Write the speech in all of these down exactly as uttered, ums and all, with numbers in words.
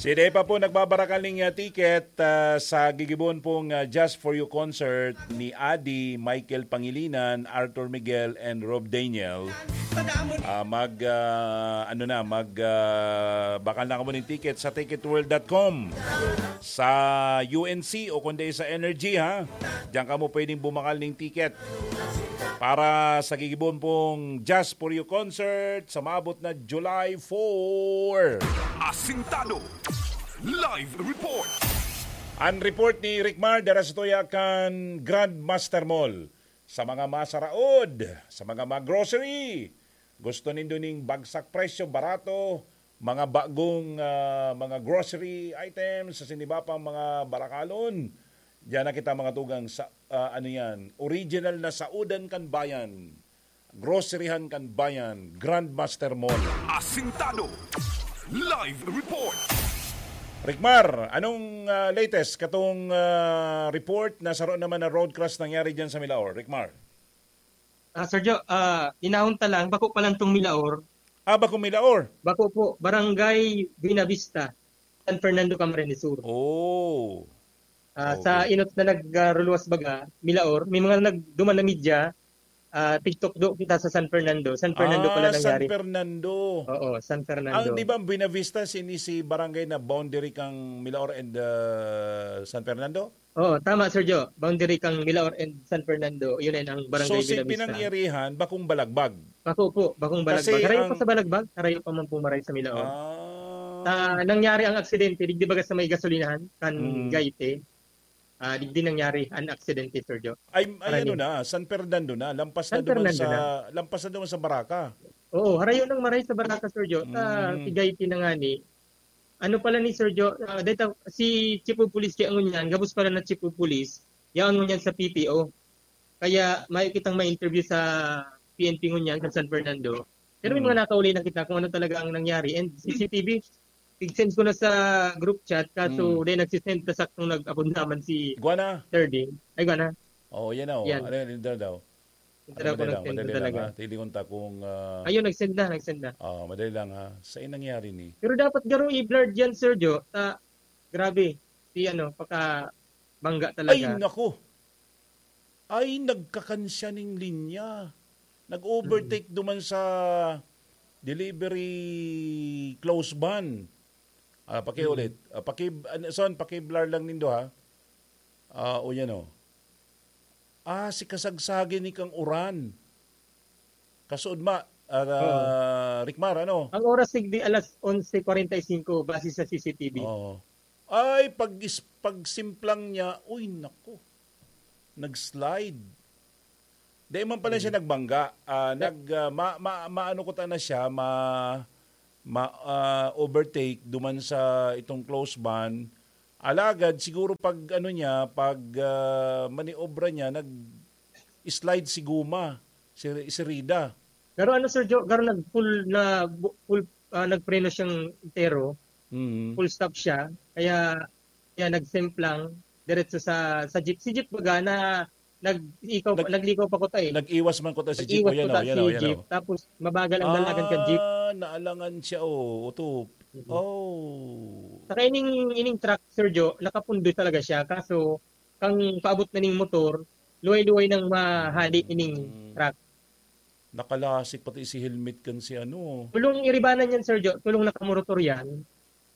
Dede pa po nagbabarakal ning, ah, ticket, ah, sa gigibon pong, ah, Just For You concert ni Adi, Michael Pangilinan, Arthur Miguel, and Rob Daniel. Ah, mag, ah, ano na, mag, ah, bakal na kamo ning ticket sa ticket world dot com, sa U N C o kundi sa Energy, ha. Diyan kamo pwedeng bumakal ning ticket para sa gigibon pong Just For You concert sa maabot na July four. Asintado Live Report. An report ni Rick Mar dara sa tuya kan Grandmaster Mall. Sa mga masaraod, sa mga ma-grocery, gusto nindo ning bagsak presyo, barato, mga bagong, ah, mga grocery items sa siniba pang mga barakalon, diyan na kita mga tugang sa, ah, ano yan, original na saudan kan bayan, groceryhan kan bayan, Grandmaster Mall. Asintado Live Report. Ricmar, anong, ah, latest katong, ah, report na saro naman na road crash nangyari dyan sa Milaor? Ricmar? Ah, Sir Jo, ah, inahon ta lang, bako pa lang tong Milaor. Ah, bakong Milaor? Bako po, Barangay Buenavista, San Fernando, Camarines Sur. Oh. Ah, sa Okay. inot na nagruluwas baga, Milaor, may mga nagduman na media, ah, tigtukdo kita sa San Fernando. San Fernando pala Ah, San nangyari. Fernando. Oo, San Fernando. Ang, di ba, ang Buenavista, sini si barangay na boundary kang Milaor and, ah, San Fernando? Oo, tama, Sir Jo. Boundary kang Milaor and San Fernando. Yun ay ang So, Barangay si Buenavista. Pinangyarihan, bakong Balagbag? Bako po, bakong Balagbag. Kasi Harayo ang pa sa Balagbag, harayo pa man pong maray sa Milaor. Ah. Sa nangyari ang aksidente, digdi baga sa may gasolinahan, kan Mm. Gaite. Ah, digdi nangyari ang aksidente, Sir Jo. Ay, ay, Karani. ano na, San Fernando na, lampas na San duman Fernando sa, na. lampas na duman sa Baraka. Oo, harayo nang maray sa Baraka, Sir Jo. Sa Mm. Tigayti na ngani, ano pala ni Sir Jo, ah, dito, si Chief of Police kaya ngunyan, gabos pala na Chief of Police, yaon ngunyan sa P P O. Kaya may kitang ma-interview sa P N P ngunyan, sa San Fernando. Pero may Mm. mga nakauli na kita kung ano talaga ang nangyari. And C C T V, tig-send ko na sa group chat, kaso Mm. dahil nagsisend na saktong nag-abot naman si Guana. Sir Ding. Ay, Guana. Oo, yan na, oh. Yan. Ano yan, Lindor daw? Lindor Ano, ako madali lang, nag-send madali lang, talaga. ha? Tilingon ta kung, ah, Ayun, nag-send na, nag-send na. ah, madali lang, ha? Sa inangyari ni? Pero dapat garo i-blurred yan, Sir Jo. Ta, grabe. Si ano, paka bangga Ay, talaga. naku! Ay, nagkakan siya ning linya. Nag-overtake Mm. duman sa delivery close van. Ah, pakiulit. Mm. Ah, paki-, ano, son, paki-blur lang nindo, ha? Ah, o yan, oh. Ah, si kasagsagin ni kang uran. Kasuod ma, ah, Oo. Ricmar, ano? Ang oras sigdi alas onse kwarenta y singko base sa C C T V. Oo. Ay, pag is-, pag simplang niya, uy, naku. Nag-slide. Dahil man pala siya Mm. nagbangga, ah, Yeah. nag, ah, ma-, ma-, maano ko ta na siya, ma-, ma-, ah, overtake duman sa itong close van. Alagad siguro pag ano niya, pag, ah, maniobra niya, nag-slide si guma, si, si Rida. Pero ano, Sir Jo, garo nag-full na, bu-, full, ah, nagpreno siyang entero, Mm. full stop siya, kaya, kaya nag-semplang diretso sa, sa jeep. Si jeep baga na nag-ikaw, Nag-, naglikaw pa ko ta eh. nag-iwas man ko ta si jeep. Nag-iwas O, yan ko o, ta yan si o, yan jeep, o. tapos mabagal ang dalagan kan jeep. Ah, naalangan siya, o, utop. Mm. Oh. Saka ining, ining truck, Sir Jo, nakapundo talaga siya. Kaso, kang paabot na ning motor, luway-luway nang mahali ining Mm. truck. Nakalasik pati si helmet kan si ano. Tulong iribanan yan, Sir Jo. Tulong nakamotor yan.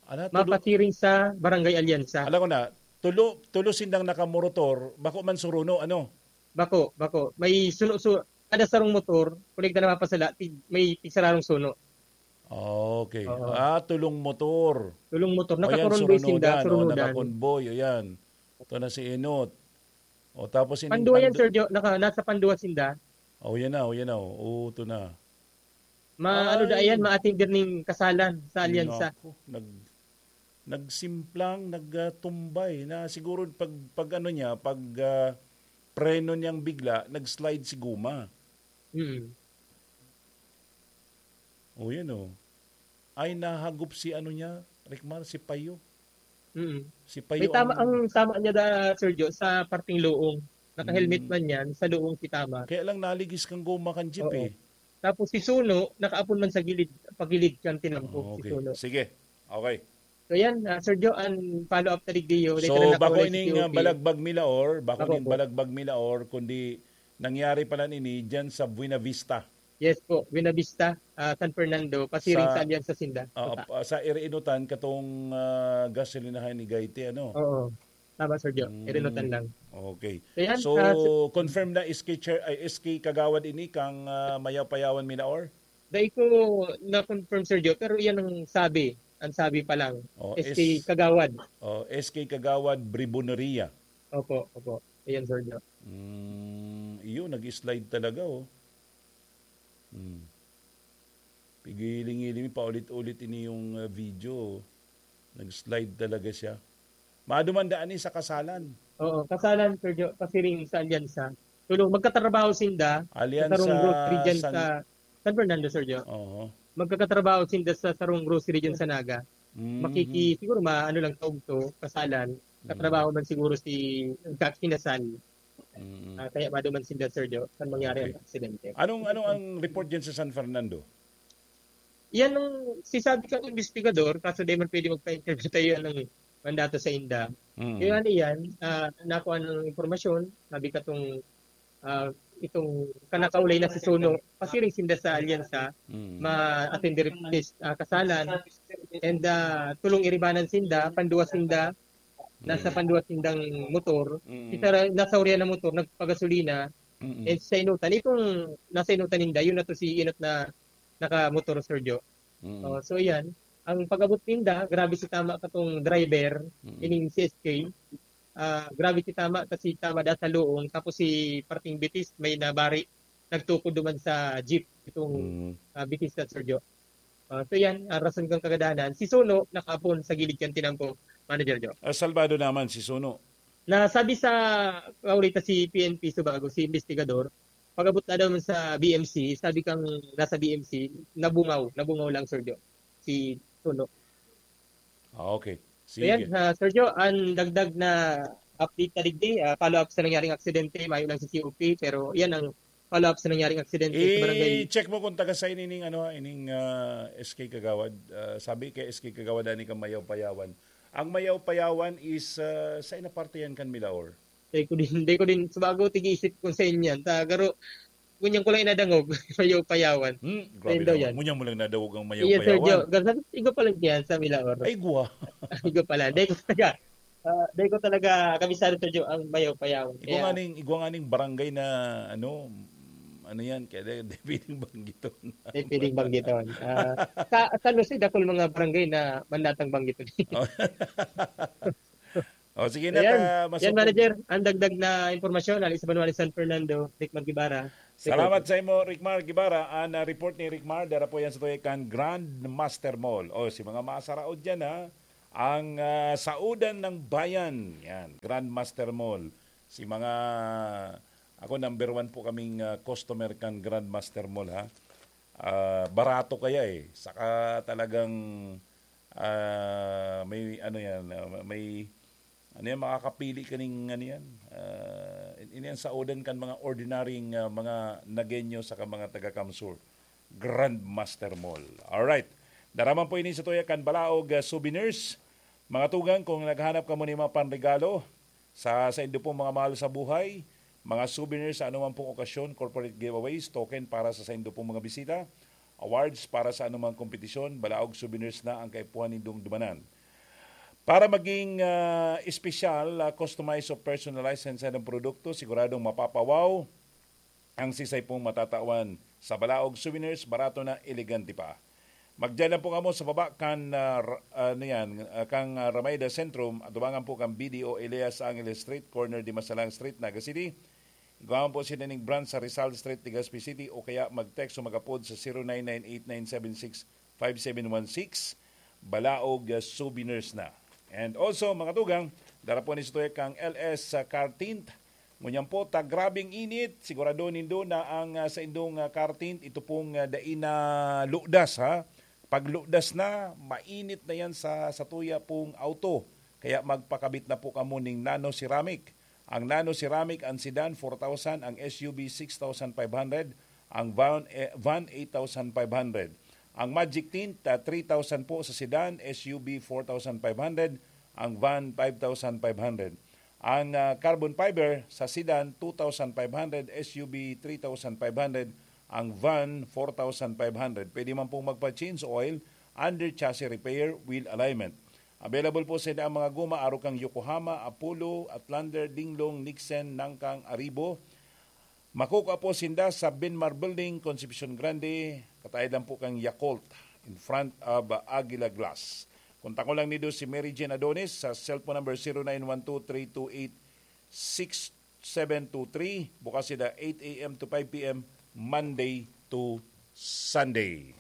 Ala, tulo- Mapasiring sa Barangay Alyansa. Alam ko na, tulo, tulo sindang nakamotor, bako man suruno, ano? Bako, bako. May suno, su-, kada sarong motor, kulig na mapasala, tig-, may tigsararong suno. Okay. Oo. Ah, tulong motor. Tulong motor. O yan, Nakakoronboy sinda, surunudan, o, surunudan. nakakonboy, o yan. Ito na si Enot. O, tapos in-, Pandua yan, nando- Sir Jo. Naka, nasa Pandua sinda. O, yan na, o, yan na, o. O, ito na. Ma-, ano da Ay. yan, ma-attender ning kasalan sa alyansa. Naku, nag-, nagsimplang, nagtumbay na siguro pag, pag ano niya, pag, ah, preno niyang bigla, nag-slide si guma. Mm. O, yan, o. Ay, nahagop si ano niya, Ricmar, si Payo. Mm. Si Payo May tama, ang ang tama niya da, Sir Jo, sa parteng luong. Naka-helmet Mm. man yan, sa luong si tama. Kaya lang naligis kang goma kan jeep Oo. eh. Tapos si Suno, nakaapon man sa gilid, pagilid kan tinampo, si Okay. Suno. Sige. Okay. So yan, ah, Sir Joe, ang follow-up ta digdi, yo, dai ta So, na bako nakaulay sa ining, ah, C O P. Balagbag Milaor, bako Bako ning po. Balagbag Milaor, kundi nangyari pala nini diyan sa Buena Vista. Yes po, Buena Vista, ah, San Fernando, pasiring Sa sa Alianza sinda. Oo, Kota. pa-, sa irinutan katong, ah, gasolinahan ni Gaite, ano? Oo. Tama, Sir Joe. Mm. Irinutan lang. Okay. So, yan, So, ah, sa confirm na S K chair-, ay, S K kagawad ini kang, ah, Mayaw-Payawan Milaor? Dai ko na-confirm, Sir Joe, pero yan ang sabi. Ang sabi pa lang, Oh, S K S-, Kagawad. Oh, S K Kagawad Briboneria. Opo, opo. Ayan, Sir Joe. Mm, iyon, nag-slide talaga, oh. Mm. Pigiling-iling, paulit-ulit ini yung, uh, video. Nag-slide talaga siya. Madumandaan ni sa kasalan. Oo, kasalan, Sir Joe, pasiring sa Alianza. Tulong, magkatrabaho sinda sa Alianza sarong grocery dyan San sa San Fernando, Sir Joe. Oo. Magkakatrabaho sinda sa sarong grocery dyan sa Naga. Mhm. Makiki-, siguro ma-, ano lang, taog to, kasalan. Mhm. Katrabaho man siguro si Kak Kinasal. Mm. Ah, kaya maduman sinda, Sir Joe, kan mangyari Okay. ang aksidente. Anong, anong ang report dyan sa San Fernando? Yan ang sisabi kang investigador, kaso di man pwede magpa-interview tayo ng mandato sa inda. Mm. Kaya ano yan, ah, nakuha ng impormasyon, sabi ka tong, ah, itong kanakaulay na si Suno, pasiring sinda sa alyansa, Mm. ma-attend diri, ah, kasalan, and, ah, tulong iribanan sinda, panduwa sinda, nasa Mm. panduwa sindang motor, Mm. isa ra-, nasa urian na motor, nagpagasolina, Mm. and sa inutan, itong nasa inutan ninda, yun na to si inot na nakamotor, Sir Joe. Mm. Oh, so yan, ang pag-abot ninda, grabe si tama katong driver, Mm. ining C S K. Ah, grabe si tama kasi tama da sa luong, tapos si parting bitis may nabari, nagtukod duman sa jeep, itong, Mm. ah, bitis na, Sir Joe. Ah, so yan, ang rason kang kagadanan. Si Suno, nakaapon sa gilid kan tinampo, Manager Joe. Ah, salbado naman si Suno. Nasabi sa, kauli ta si P N P Subago, si investigador, pag-abot na daw sa B M C, sabi kang nasa B M C, nabungaw, nabungaw lang, Sir Joe, si Suno. Ah, okay. So yan, Sige. ah, Sir Joe, ang dagdag na update na digdi, ah, follow-up sa nangyaring aksidente, mayo lang sa C O P, pero yan ang follow-up sa nangyaring aksidente sa barangay. I-check mo kung taga saan ining, ano, ining, ah, S K Kagawad. Ah, sabi kay S K Kagawad, ani ka Mayaw-Payawan. Ang Mayaw-Payawan is, ah, sa ina parte yan kan Milaor? Dai ko din, dai ko din, Subago, tig-iisip kung saan yan. Ta, garo, ngunyan ko lang inadangog, Mayaw-Payawan. Hmm, grabe Ayun daw naman. yan. Ngunyan mo lang nadangog ang Yes, Sir Joe. Mayaw-Payawan. Gar-, sabi, igwa pala yan sa Milaor. Ay, igwa. Igwa pala. Dai ko talaga, ah, dai ko talaga kabisado, Sir Joe, ang Mayaw-Payawan. Igwa Kaya nga ning, igwa nga ning barangay na, ano, ano yan, kaya di, di pwedeng banggiton. Di pwedeng banggiton. Ah, sa, sa San Jose, dakul mga barangay na mandatang banggiton. Oh. Oh, sige na, Ayan. ta, Yan, masukog. Manager, ang dagdag na impormasyon, hali sa Banwa ni San Fernando, Rick Magibara. Salamat sa imo, Rickmar Guevara. Ang, ah, report ni Rickmar, dara po yan sa tuya kan Grandmaster Mall. O, si mga masaraod dyan, ha? Ang, ah, saodan ng bayan, yan, Grandmaster Mall. Si mga, ako, number one po kaming, ah, customer kan Grandmaster Mall, ha? Ah, barato kaya, eh. Saka talagang, ah, may, ano yan, ah, may, ano yan, makakapili ka ning, ano yan, ah, in-, in yan saodan kan mga ordinaryong, ah, mga Nagueño saka mga taga Camsur. Grandmaster Mall. Alright. Dara man po ini sa tuya kan Balaog, ah, Souvenirs. Mga tugang, kung naghahanap kamo nin mga panregalo sa, sa indo pong mga mahal sa buhay, mga souvenirs sa anumang pong okasyon, corporate giveaways, token para sa, sa indo pong mga bisita, awards para sa anumang kompetisyon, Balaog Souvenirs na ang kaipuhan nindong dumanan. Para maging, ah, espesyal, ah, customized o personalized ang sadang produkto, siguradong mapapawaw ang sisay pong matatawan. Sa Balaog Souvenirs, barato na, elegante pa. Magdiyan lang po kamo sa baba kan, ah, r-, ano yan, ah, kang, ah, Ramayda Centrum, atubangan po kan B D O Elias Angeles Street, corner Dimasalang Street, Naga City. Igwa man po sila ning branch sa Rizal Street, Legazpi City, o kaya mag-text o mag-apod sa zero nine nine eight nine seven six five seven one six, Balaog, ah, Souvenirs na. And also, mga tugang, dara po ni sa tuya kang L S, ah, Car Tint. Ngunyan po, ta grabing init, sigurado nindo na ang, ah, sa indong, ah, car tint, ito pong, ah, dai na ludas, ha? Pag ludas na, mainit na yan sa, sa tuya pong auto. Kaya magpakabit na po kamo ning nano ceramic. Ang nano ceramic, ang sedan, four thousand, ang S U V, six thousand five hundred, ang van, eh, van, eight thousand five hundred. Ang Magic Tint, ah, three thousand po sa sedan, S U V four thousand five hundred, ang van five thousand five hundred. Ang, ah, carbon fiber sa sedan, two thousand five hundred, S U V three thousand five hundred, ang van four thousand five hundred. Pwede man pong magpa-change oil, under chassis repair, wheel alignment. Available po sa ang mga goma, arog kan Yokohama, Apollo, Outlander, Dinglong, Nixon, Nangkang, Aribo. Makukua po sinda sa Benmar Building, Concepcion Grande, kataed lang po kan Yakult, in front of, uh, Aguila Glass. Kontakon lang nindo si Mary Jane Adonis sa cellphone number zero nine one two three two eight six seven two three. Bukas sinda eight a m to five p m, Monday to Sunday.